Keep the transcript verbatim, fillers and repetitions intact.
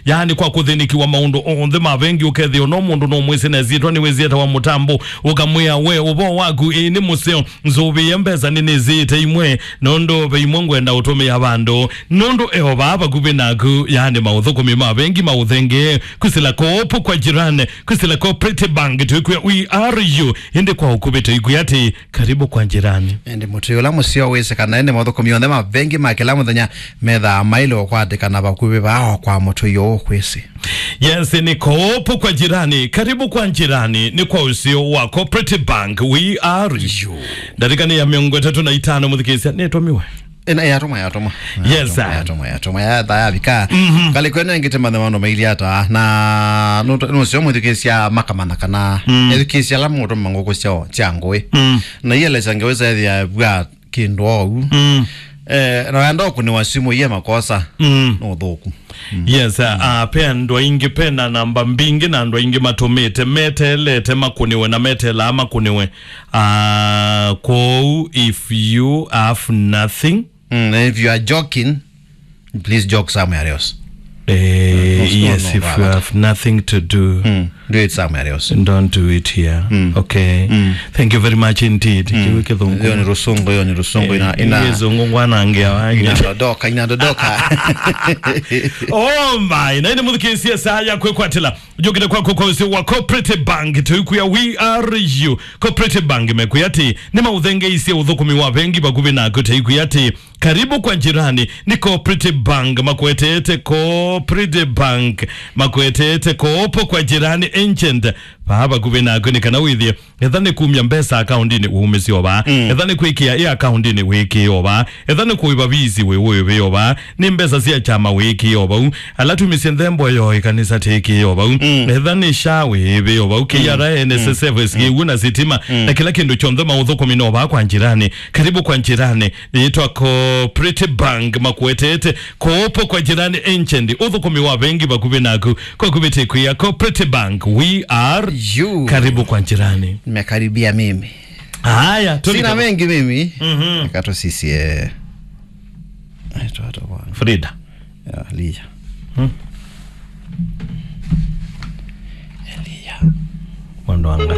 Yaani kwa kũthĩnĩkĩwa maũndũ onthe ma vengi, ũkethĩa no mũndũ no mwĩsĩ na ĩsyĩtwa nĩwĩsĩ etawa Mũtambo, ũkamwĩa, "We, ũvoo waku, ĩĩ nĩ mũseo, nzũvĩe mbesa nĩnĩsĩĩte imwe, nũndũ ve imwe ngwenda ũtũmĩa vandũ, nũndũ e o vaa vakuvĩ naku." Yaani maũthũkũmi ma vengi ma ũthengee, kwĩsĩla Coop kwa jirani, kwĩsĩla Cooperative Bank, twĩkwĩa "We are you?" Ĩndĩ kwa ũkuvĩ tũikwĩa atĩ, "Karibu kwa jirani." Ĩndĩ mũtũi ũla mũseo wĩsĩ kana ĩndĩ maũthũkũmi onthe ma vengi ma kĩla mũthenya methaa maĩle ũkwatĩkana vakuvĩ vaa o kwa mũtũi ũũ kwĩsĩ. Yes, nĩ Coop kwa jirani, karibu kwa jirani, nĩ kwa ũseo wa Cooperative Bank, we are you. Ndatĩka nĩ ya mĩongo ĩtatũ na itano, mũthikĩĩsya, nĩtũmiwe. Ĩna yatũma, yatũma. Yes, sir. Yatũma, yatũma, yatha yavika. Mhm. Kali kwene ngite mathe maũndũ maili ata, na nũsio mwĩthukĩĩsya makamana kana Mm. ethukĩĩsya ala mũtũma ngũkũ sya, sya ngũĩ. Mm. Na ielesya ngeweza ethia vwa kĩndũ ou. Mm. Eh, na wenda ũkũnĩwa simũ iye makosa. Mm. No ũthũku. Mm. Yes, uh, uh, pe andũ aingĩ, pe na namba mbingĩ na andũ aingĩ matũmĩte, meteelete makũnĩwe na meteelaa makũnĩwe. Uh, kwoou, if you have nothing, Mm, and if you are joking, please joke somewhere else. Eh, No, no, yes, no, if no, you no. have nothing to do, Mm, do it somewhere else. Don't do it here. Mm. Okay. Mm. Thank you very much indeed. Mm. Kĩu kĩthũngũ. Hiyo ni rusungu, hiyo ni rusungu. Eh, ina, ina, kĩthũngũ ngwanangĩa wanyu. Inadodoka, inadodoka. Oh my, na ĩndĩ mũthikĩĩsye saa ya kwĩkwatĩla. Njũkĩte kwaku kwa ũseo wa Cooperative Bank, tũikwĩa we are you. Cooperative Bank mekwĩa atĩ, nĩmaũthengeisye ũthũkũmi wa vengi vakuvĩ naku, tũikwĩa atĩ, karibu kwa jirani, nĩ Cooperative Bank, makwetete Cooperative Bank, makwetete Coop kwa jirani agent, vaa vakuvĩ naku, nĩ kana wĩthĩe, etha nĩ kumya mbesa akaundinĩ, wumĩsye o vaa. Mm. Etha nĩ kwĩkĩa ĩ akaundinĩ, wĩkĩe o vaa. Etha nĩ kũĩva visi, wĩ wĩve o vaa. Nĩ mbesa sya kyama, wĩkĩe o vau. Ala tumisye nthembo yo ĩkanisa, tĩkĩe o vau. Mm. Etha nĩ SHA, wĩve o vau. Mm. K R A, N S S F, Mm. S G U na sitima. Mm. Na kĩla kĩndũ kyonthe maũthũkũmi no vaa kwa jirani. Karibu kwa jirani. Yĩtwa Cooperative Bank, makwetete Coop kwa jirani agent. Ũthũkũmi wa vengi vakuvĩ naku. Kwa kuvĩtĩkwĩa Cooperative Bank, we are You. Karibu kwa jirani. Nimekaribia mimi. Haya, sina mengi mimi. Mhm. Eka tusisie. Aitwa hata bwana. Frida. Ya, Elia. Hmm. Elia. Wandwanga.